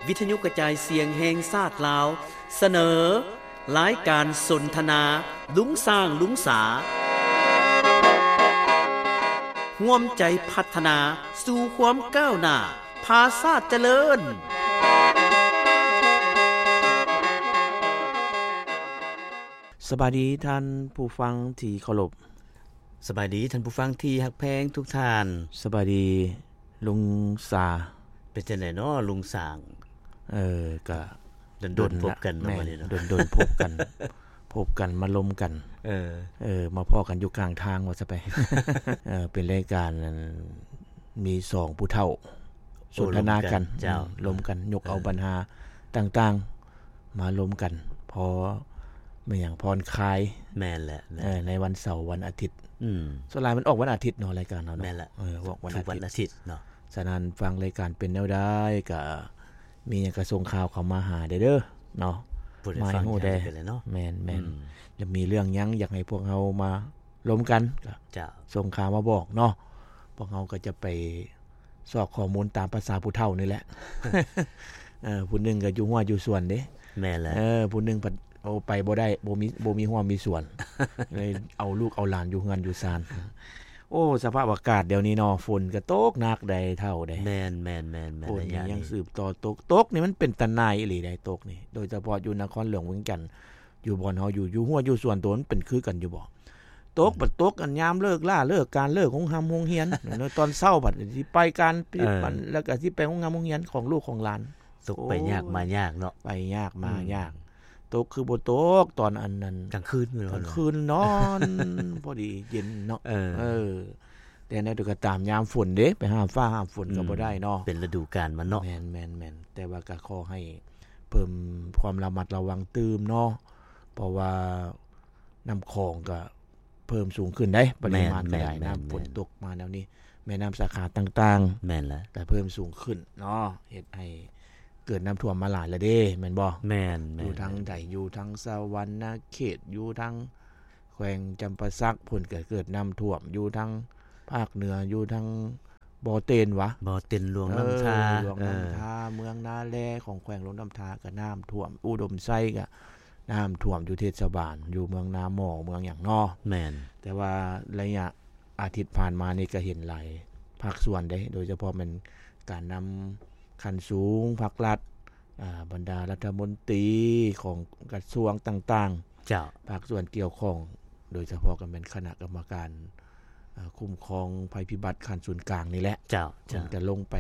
ວິທະຍຸກະຈາຍສຽງແຫ່ງຊາດລາວ ສະເໜີ ລາຍການສົນທະນາ ລຸງຊ້າງ ລຸງສາ ຮ່ວມໃຈພັດທະນາສູ່ຄວາມກ້າວໜ້າ ພາຊາດຈະເລີນ. ສະບາຍດີທ່ານຜູ້ຟັງທີ່ເຄົາລົບ. ສະບາຍດີທ່ານຜູ້ຟັງທີ່ຮັກແພງທຸກທ່ານ. ສະບາຍດີລຸງສາ. ເປັນຈັ່ງໃດເນາະລຸງຊ້າງ? ເອີ ກະດົນໆ ພົບກັນເນາະ ແມ່ນ ບາດນີ້ເນາະ ດົນໆ ພົບກັນ ພົບກັນມາລົມກັນ ເອີ ເອີ ມາພໍ້ກັນຢູ່ກາງທາງວ່າຊະໄປ. ເອີ ເປັນລາຍການ ອັນ ມີສອງຜູ້ເຖົ້າ ໂອ້ ສົນທະນາກັນ ລົມກັນ ເຈົ້າ ອືມ ລົມກັນ ຍົກເອົາ ເອີ ບັນຫາຕ່າງໆ ມາລົມກັນ ພໍ ແມ່ນຫຍັງ ຜ່ອນຄາຍ ແມ່ນແຫຼະ ແມ່ນ ເອີ ໃນວັນເສົາ ວັນອາທິດ ອືມ ສ່ວນຫຼາຍມັນອອກວັນອາທິດເນາະ ລາຍການເຮົາເນາະ ແມ່ນແຫຼະ ເອີ ອອກວັນອາທິດ ທຸກວັນອາທິດເນາະ. ສະນັ້ນ ຟັງລາຍການເປັນແນວໃດ ກະມີຫຍັງກະສົ່ງຂ່າວເຂົ້າມາຫາແດ່ເດີເນາະ ມາໃຫ້ຮູ້ແດ່ ແມ່ນໆ ອືມ ແລ້ວມີເລື່ອງຫຍັງຢາກໃຫ້ພວກເຮົາມາລົມກັນ ກະ ເຈົ້າ ສົ່ງຂ່າວມາບອກເນາະ ພວກເຮົາກະຈະໄປ ຊອກຂໍ້ມູນຕາມພາສາຜູ້ເຖົ້ານີ້ແຫຼະ ເອີ ຜູ້ໜຶ່ງກະຢູ່ຮົ້ວຢູ່ສວນເດ້ ແມ່ນແຫຼະ ເອີ ຜູ້ໜຶ່ງພັດ ໂອ້ ໄປບໍ່ໄດ້ ບໍ່ມີ ບໍ່ມີຮົ້ວມີສວນ ເລີຍເອົາລູກເອົາຫຼານຢູ່ເຮືອນຢູ່ຊານ. ໂອ້ ສະພາບອາກາດດຽວນີ້ເນາະ ຝົນກະຕົກໜັກໃດ໋ເຖົ້າເດ້ ແມ່ນໆໆໆ ຝົນນີ້ຍັງສືບຕໍ່ຕົກ ຕົກນີ້ມັນເປັນຕາໜ່າຍອີ່ຫຼີໃດ໋ ຕົກນີ້ ໂດຍສະເພາະຢູ່ນະຄອນຫຼວງວຽງຈັນ ຢູ່ບ່ອນເຮົາຢູ່ ຢູ່ຮົ້ວຢູ່ສວນໂຕ ມັນເປັນຄືກັນຢູ່ບໍ່? ຕົກ ອືມ ບັດຕົກອັນຍາມເລີກລາເລີກການ ເລີກໂຮງຮ່ຳໂຮງຮຽນ ຕອນເຊົ້າບັດຊິໄປການ ເອີ ແລ້ວກະຊິໄປໂຮງຮ່ຳໂຮງຮຽນຂອງລູກຂອງຫຼານ ຕົກໄປຍາກມາຍາກເນາະ ໂອ້ຍ ໄປຍາກມາຍາກ ອືມ ຕົກຄືບໍ່ຕົກຕອນອັນນັ້ນ ກາງຄືນ ກາງຄືນນອນ ພໍດີເຢັນເນາະ ເອີ ເອີ ແຕ່ແນວໃດກະຕາມ ຍາມຝົນເດ້ ໄປຫ້າມຟ້າຫ້າມຝົນກະ ອືມ ບໍ່ໄດ້ເນາະ ເປັນລະດູການມັນເນາະ ແມ່ນໆໆ ແຕ່ວ່າກະຂໍໃຫ້ ເພີ່ມຄວາມລະມັດລະວັງຕື່ມເນາະ ເພາະວ່ານ້ຳຂອງກະເພີ່ມສູງຂຶ້ນໃດ໋ ປະລິມານກະໄດ້ ແມ່ນໆໆໆ ນ້ຳຝົນຕົກມາແນວນີ້ ແມ່ນ້ຳສາຂາຕ່າງໆ ແມ່ນລະ ກະເພີ່ມສູງຂຶ້ນເນາະ ເຮັດໃຫ້ເກີດນ້ຳຖ້ວມມາຫຼາຍລະເດ້ ແມ່ນບໍ່? ແມ່ນໆໆ ຢູ່ທາງໃດ ຢູ່ທາງສະຫວັນນະເຂດ ຢູ່ທາງ ແຂວງຈຳປາສັກພຸ້ນກະເກີດນ້ຳຖ້ວມ ຢູ່ທາງພາກເໜືອ ຢູ່ທາງບໍ່ເຕັນຫວາ ບໍ່ເຕັນ ຫຼວງນ້ຳທາ ເອີ ຫຼວງນ້ຳທາ ເອີ ເມືອງນາແລຂອງແຂວງຫຼວງນ້ຳທາກະນ້ຳຖ້ວມ ອຸດົມໄຊກະນ້ຳຖ້ວມ ຢູ່ເທດສະບານ ຢູ່ເມືອງນາໝໍ້ ເມືອງຫຍັງເນາະ ແມ່ນ ແຕ່ວ່າໄລຍະອາທິດຜ່ານມານີ້ກະເຫັນຫຼາຍພາກສ່ວນເດ້ ໂດຍສະເພາະແມ່ນການນຳຂັ້ນສູງ ພັກລັດ ອ່າ ບັນດາລັດຖະມົນຕີຂອງກະຊວງຕ່າງໆ ເຈົ້າ ພາກສ່ວນກ່ຽວຂ້ອງ ໂດຍສະເພາະກະແມ່ນຄະນະກຳມະການ ເອີ ຄຸ້ມຄອງໄພພິບັດຂັ້ນສູນກາງນີ້ແຫຼະ ເຈົ້າ ເຈົ້າ ເພິ່ນກະລົງໄປ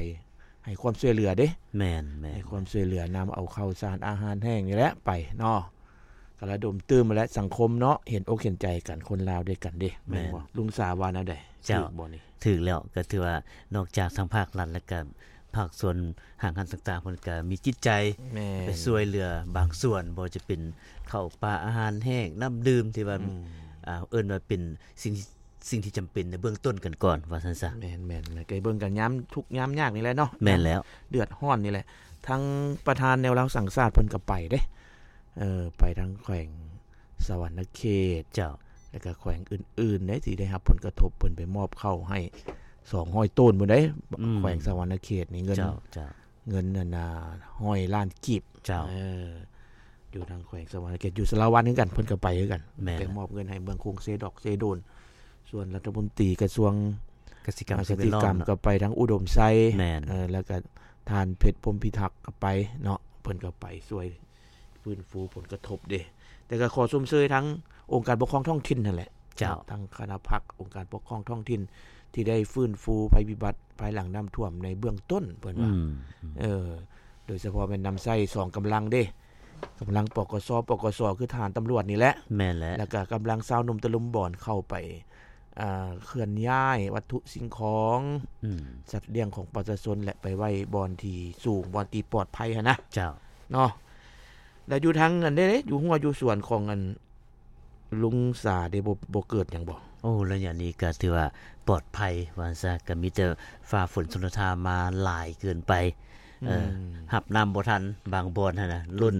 ໃຫ້ຄວາມຊ່ວຍເຫຼືອເດ້ ແມ່ນໆ ໃຫ້ຄວາມຊ່ວຍເຫຼືອ ນຳເອົາເຂົ້າສານອາຫານແຫ້ງນີ້ແຫຼະໄປເນາະ ກະລະດົມຕື່ມແຫຼະ ສັງຄົມເນາະ ເຫັນອົກເຫັນໃຈກັນ ຄົນລາວດ້ວຍກັນເດ້ ແມ່ນ ແມ່ນບໍ່? ລຸງສາວ່າແນວໃດ? ເຈົ້າ ຖືກບໍ່ນີ້? ຖືກແລ້ວ ກະຖືວ່ານອກຈາກທາງພາກລັດ ແລ້ວກະ ພາກສ່ວນຫ້າງຮ້ານຕ່າງໆ ເພິ່ນກະມີຈິດໃຈ ແມ່ນ ໄປຊ່ວຍເຫຼືອບາງສ່ວນ ບໍ່ວ່າຈະເປັນເຂົ້າປາອາຫານແຫ້ງ ນ້ຳດື່ມ ທີ່ວ່າ ອືມ ອ່າ ເອີ້ນວ່າເປັນສິ່ງ ສິ່ງທີ່ຈຳເປັນໃນເບື້ອງຕົ້ນກັນກ່ອນ ວ່າຊັ້ນຊະ ແມ່ນໆ ກະເບິ່ງກັນຍາມທຸກຍາມຍາກນີ້ແຫຼະເນາະ ແມ່ນແລ້ວ ເດືອດຮ້ອນນີ້ແຫຼະ ທາງປະທານແນວລາວສ້າງຊາດເພິ່ນກະໄປເດ້ ເອີ ໄປທາງແຂວງ ສະຫວັນນະເຂດ ເຈົ້າ ແລ້ວກະແຂວງອື່ນໆເດ້ ທີ່ໄດ້ຮັບຜົນກະທົບ ເພິ່ນໄປມອບເຂົ້າໃຫ້ສອງຮ້ອຍໂຕນພຸ້ນເດ້ ອືມ ແຂວງສະຫວັນນະເຂດນີ້ ເງິນ ເຈົ້າ ເຈົ້າ ເງິນອັນນ່າ ຮ້ອຍລ້ານກີບ ເຈົ້າ ເອີ ຢູ່ທາງແຂວງສະຫວັນນະເຂດ ຢູ່ສາລະວັນຄືກັນ ເພິ່ນກະໄປຄືກັນ ແມ່ນ ໄປມອບເງິນໃຫ້ເມືອງຄົງເຊດອກເຊໂດນ ສ່ວນລັດຖະມົນຕີກະຊວງກະສິກຳ ກະສິກຳ ກະໄປທາງອຸດົມໄຊ ແມ່ນ ເອີ ແລ້ວກະທ່ານເພັດ ພົມພິທັກ ກະໄປເນາະ ເພິ່ນກະໄປຊ່ວຍ ຟື້ນຟູຜົນກະທົບເດ້ ແຕ່ກະຂໍຊົມເຊີຍທາງອົງການປົກຄອງທ້ອງຖິ່ນຫັ້ນແຫຼະ ເຈົ້າ ທາງຄະນະພັກອົງການປົກຄອງທ້ອງຖິ່ນ ທີ່ໄດ້ຟື້ນຟູໄພພິບັດພາຍຫຼັງນ້ຳຖ້ວມໃນເບື້ອງຕົ້ນ ເພິ່ນວ່າ ອືມ ເອີ ໂດຍສະເພາະແມ່ນນຳໃຊ້ສອງກຳລັງເດ້ ກຳລັງ ປກສ ປກສ ຄືທະຫານຕຳຫຼວດນີ້ແຫຼະ ແມ່ນແຫຼະ ແລ້ວກະກຳລັງຊາວໜຸ່ມຕະລຸມບອນເຂົ້າໄປ ອ່າ ເຄື່ອນຍ້າຍວັດຖຸສິ່ງຂອງ ອືມ ສັດລ້ຽງຂອງປະຊາຊົນ ແລະ ໄປໄວ້ບ່ອນທີ່ສູງ ບ່ອນທີ່ປອດໄພຫັ້ນນະ ເຈົ້າ ເນາະ ແລ້ວຢູ່ທາງອັນເດ້ ຢູ່ຮົ້ວຢູ່ສວນຂອງອັນລຸງສາເດ້ ບໍ່ ບໍ່ເກີດຫຍັງບໍ່? ໂອ້ ໄລຍະນີ້ກະຖືວ່າປອດໄພວ່າຊັ້ນຊະ ກະມີແຕ່ຟ້າຝົນຊົນລະທາມາຫຼາຍເກີນໄປ ເອີ ອືມ ຮັບນ້ຳບໍ່ທັນ ບາງບ່ອນຫັ້ນນະ ລົ້ນ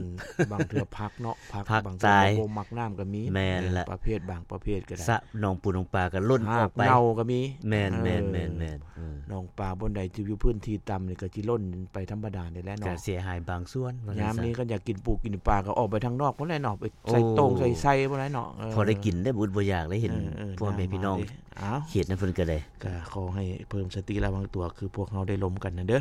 ບາງເທື່ອພັກເນາະ ພັກ ພັກ ບາງເທື່ອ ຕາຍ ບໍ່ມັກນ້ຳກໍມີ ແມ່ນລະ ເອີ ປະເພດບາງປະເພດກໍໄດ້ ສະໜອງປູໜອງປາກໍລົ້ນອອກໄປ ຮາກເນົ່າກໍມີ ແມ່ນໆໆໆ ເອີ ເອີ ໜອງປາບ່ອນໃດທີ່ຢູ່ພື້ນທີ່ຕ່ຳນີ້ກໍຊິລົ້ນໄປທຳມະດານີ້ແຫຼະເນາະ ກໍເສຍຫາຍບາງສ່ວນວ່າຊັ້ນຊະ ຍາມນີ້ກໍຢາກກິນປູກິນປາກໍອອກໄປທາງນອກພຸ້ນແຫຼະເນາະ ໄປໃສ່ໂຕ່ງ ໂອ້ ໃສ່ໄຊພຸ້ນແຫຼະເນາະ ເອີ ພໍໄດ້ກິນໄດ້ ບໍ່ອຶດບໍ່ຢາກໄດ້ເຫັນ ເອີ ເອີ ພໍ່ແມ່ພີ່ນ້ອງ ເອີ ເອົາ ເຂດນັ້ນເພິ່ນກໍໄດ້ ກໍຂໍໃຫ້ເພີ່ມສະຕິລະວັງຕົວ ຄືພວກເຮົາໄດ້ລົມກັນນັ້ນເດີ້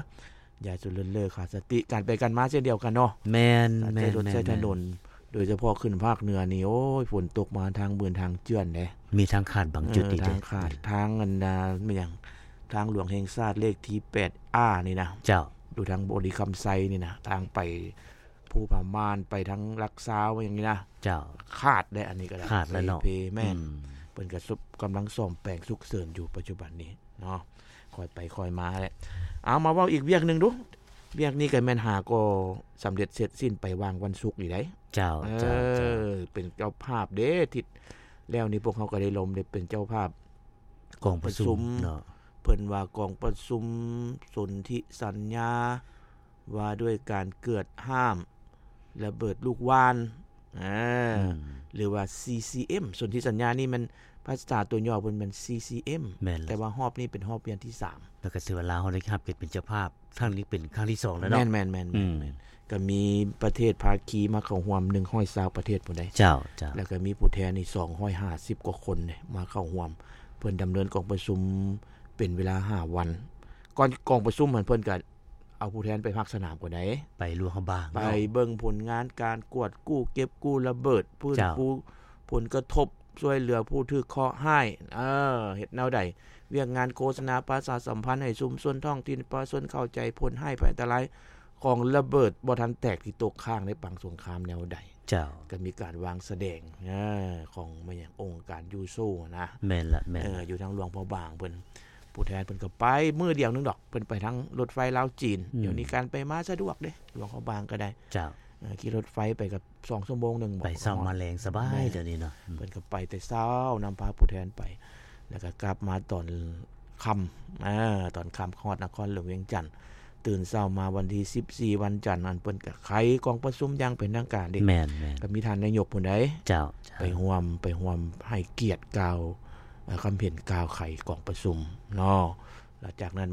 ຢ່າສຸເລີນເລີຂາດສະຕິ ການໄປການມາເຊັ່ນດຽວກັນເນາະ ແມ່ນໆໆ ການໃຊ້ລົດໃຊ້ຖະໜົນ ໂດຍສະເພາະຂຶ້ນພາກເໜືອນີ້ ໂອ້ຍ ຝົນຕົກມາທາງບຶນທາງເຈື່ອນເດ້ ມີທາງຂາດບາງຈຸດ ເອີ ອີກເດ້ ທາງຂາດ ທາງອັນນາ ແມ່ນຫຍັງ ທາງຫຼວງແຫ່ງຊາດເລກທີແປດອານີ້ນະ ເຈົ້າ ຢູ່ທາງບໍລິຄຳໄຊນີ້ນະ ທາງໄປພູຜາມ່ານ ໄປທາງຫຼັກຊາວຫຍັງນີ້ນະ ເຈົ້າ ຂາດເດ້ ອັນນີ້ກໍໄດ້ ຂາດແລ້ວເນາະ ເພ ແມ່ນ ອືມ ເພິ່ນກໍສຸບ ກຳລັງສ້ອມແປງສຸກເສີນຢູ່ປັດຈຸບັນນີ້ ເນາະ ຄ່ອຍໄປຄ່ອຍມາແຫຼະ ເອົາ ມາເວົ້າອີກວຽກໜຶ່ງດູ ວຽກນີ້ກໍແມ່ນຫາກໍສຳເລັດເສັດສິ້ນໄປຫວ່າງວັນສຸກນີ້ໄດ໋ ເຈົ້າ ເອີ ເຈົ້າ ເຈົ້າ ເປັນເຈົ້າພາບເດ້ ທິດແລ້ວນີ້ພວກເຮົາກໍໄດ້ລົມໄດ້ເປັນເຈົ້າພາບ ກອງປະຊຸມ ປະຊຸມເນາະ ເພິ່ນວ່າກອງປະຊຸມສົນທິສັນຍາ ວ່າດ້ວຍການເກີດຫ້າມລະເບີດລູກຫວ່ານ ເອີ ອືມ ຫຼືວ່າ ຊີຊີເອັມ ສົນທິສັນຍານີ້ແມ່ນພາສາຕົວຫຍໍ້ເພິ່ນແມ່ນ ຊີຊີເອັມ ແມ່ນລະ ແຕ່ວ່າຮອບນີ້ເປັນຮອບວຽນທີສາມ ແລ້ວກໍຖືວ່າລາວເຮົາໄດ້ຮັບເກີດເປັນເຈົ້າພາບ ຄັ້ງນີ້ເປັນຄັ້ງທີສອງແລ້ວເນາະ ແມ່ນໆໆ ອືມ ກໍມີປະເທດພາຄີມາເຂົ້າຮ່ວມໜຶ່ງຮ້ອຍຊາວປະເທດພຸ້ນໃດ໋ ເຈົ້າ ເຈົ້າ ແລ້ວກໍມີຜູ້ແທນອີກສອງຮ້ອຍຫ້າສິບກວ່າຄົນເດ້ ມາເຂົ້າຮ່ວມ ເພິ່ນດຳເນີນກອງປະຊຸມເປັນເວລາຫ້າວັນ ກ່ອນກອງປະຊຸມຫັ້ນ ເພິ່ນກໍ ເອົາຜູ້ແທນໄປພາກສະໜາມກ່ອນໃດ໋ ໄປຫຼວງພະບາງເນາະ ໄປເບິ່ງຜົນງານການກວດກູ້ເກັບກູ້ລະເບີດ ຟື້ນ ເຈົ້າ ຟູຜົນກະທົບ ຊ່ວຍເຫຼືອຜູ້ຖືກເຄາະຮ້າຍ ເອີ ເຮັດແນວໃດ ວຽກງານໂຄສະນາປະຊາສຳພັນໃຫ້ຊຸມຊົນທ້ອງຖິ່ນ ປະຊາຊົນເຂົ້າໃຈຜົນຮ້າຍໄພອັນຕະລາຍຂອງລະເບີດບໍ່ທັນແຕກທີ່ຕົກຄ້າງໃນປາງສົງຄາມແນວໃດ ເຈົ້າ ກໍມີການວາງສະແດງ ເອີ ຂອງແມ່ນຫຍັງ ອົງການຢູໂຊນະ ແມ່ນລະ ແມ່ນລະ ເອີ ຢູ່ທາງຫຼວງພະບາງເພິ່ນ ຜູ້ແທນເພິ່ນກໍໄປມື້ດຽວໜຶ່ງດອກ ເພິ່ນໄປທາງລົດໄຟລາວຈີນ ອືມ ດຽວນີ້ການໄປມາສະດວກເດ້ ຫຼວງພະບາງກໍໄດ້ ເຈົ້າ ເອີ ຂີ່ລົດໄຟໄປກໍສອງຊົ່ວໂມງໜຶ່ງບໍ ໄປເຊົ້າມາແລງສະບາຍ ແມ່ນ ດຽວນີ້ເນາະ ອືມ ເພິ່ນກໍໄປແຕ່ເຊົ້າ ນຳພາຜູ້ແທນໄປ ແລ້ວກໍກັບມາຕອນຄ່ຳ ເອີ ຕອນຄ່ຳຮອດນະຄອນຫຼວງວຽງຈັນ ຕື່ນເຊົ້າມາວັນທີສິບສີ່ ວັນຈັນ ອັນເພິ່ນກໍໄຂກອງປະຊຸມຢ່າງເປັນທາງການເດ້ ແມ່ນໆ ກໍມີທ່ານນາຍົກພຸ້ນໃດ໋ ເຈົ້າ ເຈົ້າ ໄປຮ່ວມ ໄປຮ່ວມໃຫ້ກຽດກ່າວ ເອີ ຄຳເຫັນກ່າວໄຂກອງປະຊຸມເນາະ ແລ້ວຈາກນັ້ນ